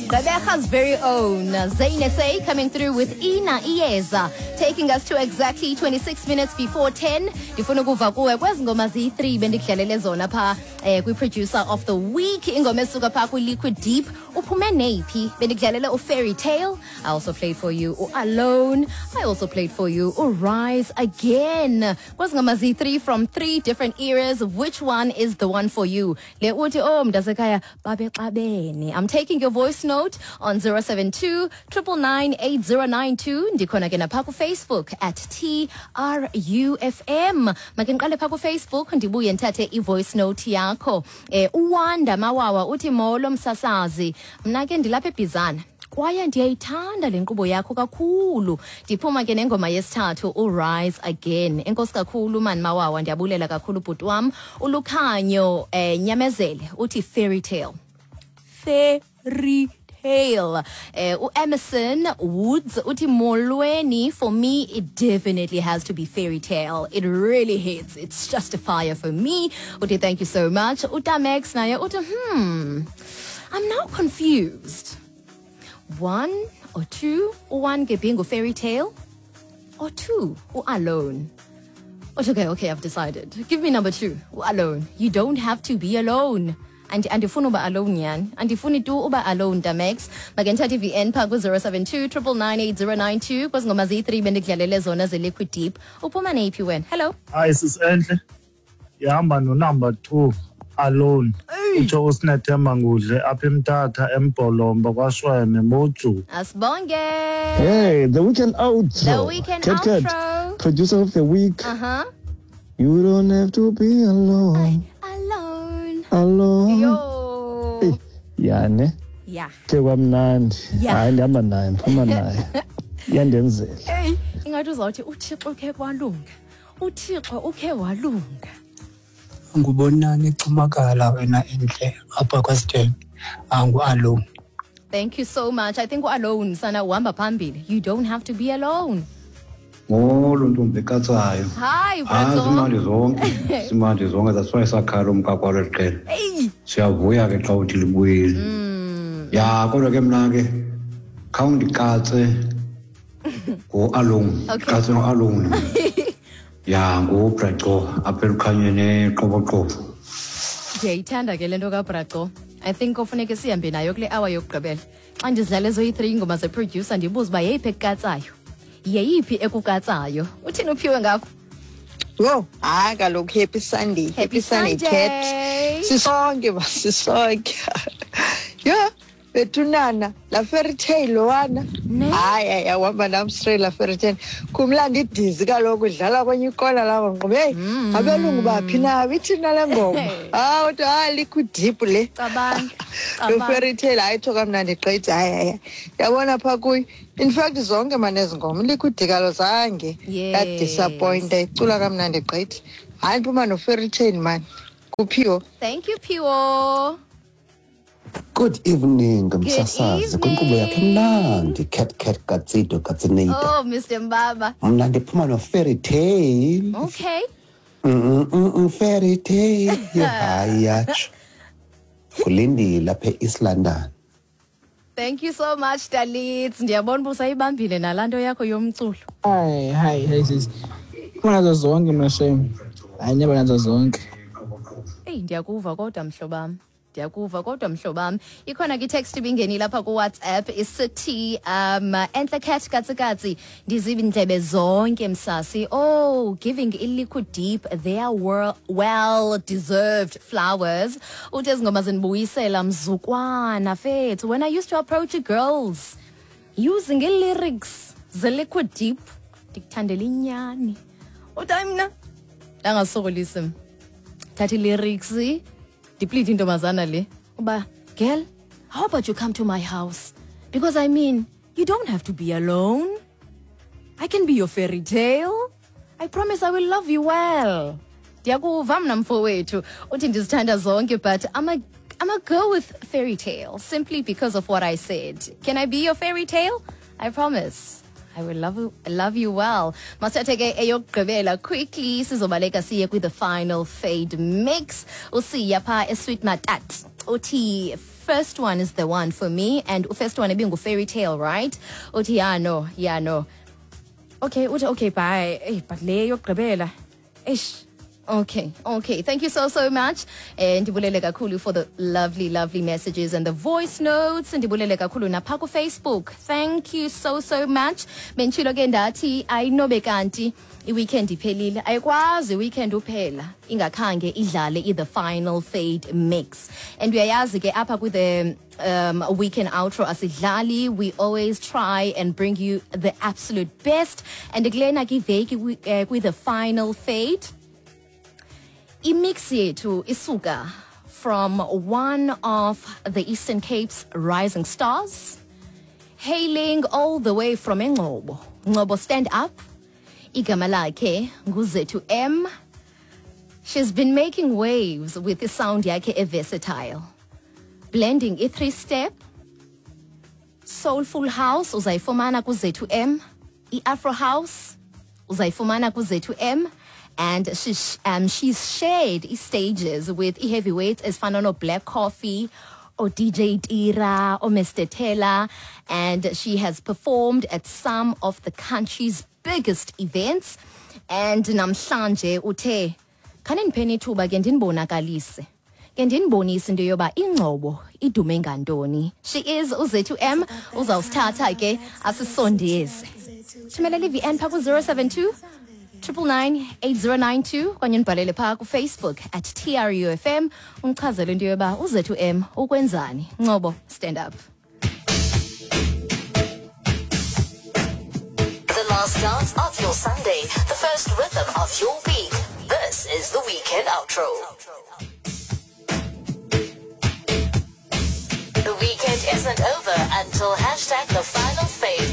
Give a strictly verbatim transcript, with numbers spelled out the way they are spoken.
Gqeberha's very own Zayn S A coming through with Ina Iyeza, taking us to exactly twenty-six minutes before ten. Ndifuna ukuva kuwe kwezi ngoma ziyi-three bendikudlalele zona pha eh, kwi-producer of the week, ingoma esuka pha kwi-Liquid Deep. Uphume neyiphi? Bendikudlalele u-Fairy Tale. I also played for you u-Alone. I also played for you u-Rise Again. Kwezi ngoma ziyi-three from three different eras, which one is the one for you? Le uthi, oh, mntasekhaya, babexabene. I'm taking your voice note on zero seven two nine nine nine eight zero nine two. Ndikhona ke napha kuFacebook at T R U F M. Make ndiqale pha kuFacebook, ndibuye ndithathe i-voice note yakho. eh uWanda Mawawa uthi, "Molo msasazi, mna ke ndilapha eBhizana kwaye ndiyayithanda le nkqubo yakho kakhulu. Ndiphuma ke nengoma yesithathu, uRise Again." Enkosi kakhulu mani Mawawa, ndiyabulela kakhulu bhuti wam. ULukhanyo eh Nyamezele uthi Fairy Tale, Fairy Tale. Eh uEmerson Woods uthi, "Molweni, for me it definitely has to be Fairy Tale. It really hits. It's just a fire for me." Uthi thank you so much. UTamex naye uthi, hmm I'm now confused. One or two, one ke being Fairy Tale or two, Alone." Uthi, okay, okay, I've decided. Give me number two, Alone. You don't have to be alone." And andifuni uba alone nyani. Andifuni tu uba alone, Damex. Make ndithathe i-V N pha ku-zero seven two nine nine nine eight zero nine two. Kwezi ngoma ziyi-three bendikudlalele zona ze-Liquid Deep. Uphuma neyiphi wena? Hello. Hayi sis enhle, ihamba no-number two, Alone. Utsho uSinethemba Ngudle apha eMthatha, eMbholomba, kwaShweme moju. Asibonge. Hey, the weekend outro. The weekend Cat Cat, outro. Producer of the week. Uh-huh. You don't have to be alone. Alone. Alone. Yo. Hey, ya ne. Yeah. Ke kwamnandi. Yeah. Hayi, ndihamba naye, ndiphuma naye. Iyandenzela. Hey, ingathi uzawuthi uThixo ukhe kwalunga. UThixo ukhe walunga. Ngubonani eCumakala wena enhle apha kwaSithengi angu-Alone. Thank you so much. I think Alone sana uhamba phambili. You don't have to be alone. Molo ntombi ekatsayo. Hi, Hayi, Brato. zimandi zonke, zimandi zonke. That's why sakhala umkakwa leli qela. Hey. Siyavuya ke xa uthi libuyile. Ya, kodwa ke mna ke khawundikatse ngo-Alone. Okay. Katse ngo-Alone. Ya, nguBraco apha elukhanyeni eQoboqobo. Ndiyayithanda ke le nto kaBraco. I think kofuneke sihambe nayo kule hour yokugqibela. Xa ndizidlala ezoyi-three ingoma zeproducer, ndibuze uba yeyiphi ekukatsayo. Yeyiphi ekukatsayo? Uthini uphiwe ngapha? Yho, hayi kaloku, happy Sunday. Happy Happy Sunday, Cat. Sunday. Sisonke ba, sisonke. Yho, bethunana, la Fairy Tale wana. Ne? Hayi, hayi, awuhamba nam straight la Fairy Tale. Kumlandi idizi kaloku idlala kwenye ikona lapho ngqobe. Hey, abelungu baphi na? Ithina le ngoma? Ah, uthi hayi, Liquid Deep le. Cabanga. Lo Cabanga. Fairy Tale ayitsho kamnandi gqithi, hayi hayi. Yabona pha kuyo. In fact zonke mane ezi ngoma Liquid kalo zange Yes. yadisappointa, icula kamnandi gqithi. Hayi, ndiphuma no Fairy Tale man. Kuphiwo. Thank you, Phiwo. Good evening, msasazi, kwinkqubo yakho Evening. emnandi, Cat Cat Katsido Katsinita. Oh, Mister Mbaba. Mna ndiphuma no Fairy Tale. Okay. Mm mm mm fairy tale. Hayi, yatsho. Kulindile apha eEast London. Thank you so much, Dalit. Ndiyabona uba usayibambile nalaa nto yakho yomculo. Hayi hayi hayi sisi, kunazo zonke mna shame, hayi, ndiyaba nazo zonke. Eyi, ndiyakuva kodwa mhlobam. Ndiyakuva kodwa mhlobam. Ikhona ke itext ibingenile lapha kuWhatsApp isithi, um "Enhle Cat Katsikatsi, ndizindlebe zonke msasi. Oh, giving iLiquid Deep their well deserved flowers." Uthi ezi ngoma zindibuyisela mzukwana fethu when I used to approach girls using i-lyrics ze-Liquid Deep, "Ndikuthandela inyani." Uthi hayi, mna ndangasokolisi mna. Thatha i-lyrics ndiplite intombazana le uba, "Girl, how about you come to my house? Because I mean, you don't have to be alone. I can be your fairy tale. I promise I will love you well." Ndiyakuva mna mfowethu. Uthi, "Ndizithanda zonke, but I'm a, I'm a go with Fairy Tale simply because of what I said. Can I be your fairy tale? I promise I will love you, love you well." Masithathe ke eyokugqibela quickly, sizobaleka siye kwi the final fade mix. Usiya pha eSweet Matat. Uthi first one is the one for me. And first one ibingu fairy tale, right? Uthi yeah no, yeah no. Okay, uthi okay, bye. Hey, but le yokugqibela. Eish. Okay, okay. Thank you so, so much. Eh, ndibulele kakhulu for the lovely, lovely messages and the voice notes. Ndibulele kakhulu napha ku Facebook. Thank you so, so much. Benditshilo ke ndathi ayinobe kanti i-weekend iphelile. Ayikwazi i-weekend uphela ingakhange idlale i-the final fade mix. And uyayazi ke apha ku the um, weekend outro asidlali, we always try and bring you the absolute best. And kulena ke iveki eh, kwi the final fade, imix yethu isuka from one of the Eastern Cape's rising stars, hailing all the way from Engcobo. Ngcobo, stand up. Igama lakhe nguZethu M. She's been making waves with the sound yakhe e-versatile, blending i-three-step, soulful house uzayifumana kuZethu M, i-afro house uzayifumana kuZethu M, and she, um, she's shared stages with heavyweights ezifana no Black Coffee, or D J Tira, or Mister Taylor, and she has performed at some of the country's biggest events. And namhlanje uthe khanindipheni ithuba ke ndinibonakalise, ke ndinibonise into yoba iNgcobo idume ngantoni. She is uZethu M, uzawusithatha ke asisondeze. Thumelela i-V N phaa ku-zero seven two triple nine eight zero nine two okanye ndibhalele phaa kuFacebook at T R U F M undichazele into yoba uZethu M ukwenzani. Ngcobo, stand up. The last dance of your Sunday, the first rhythm of your week. This is the weekend outro. The weekend isn't over until hashtag the final fade.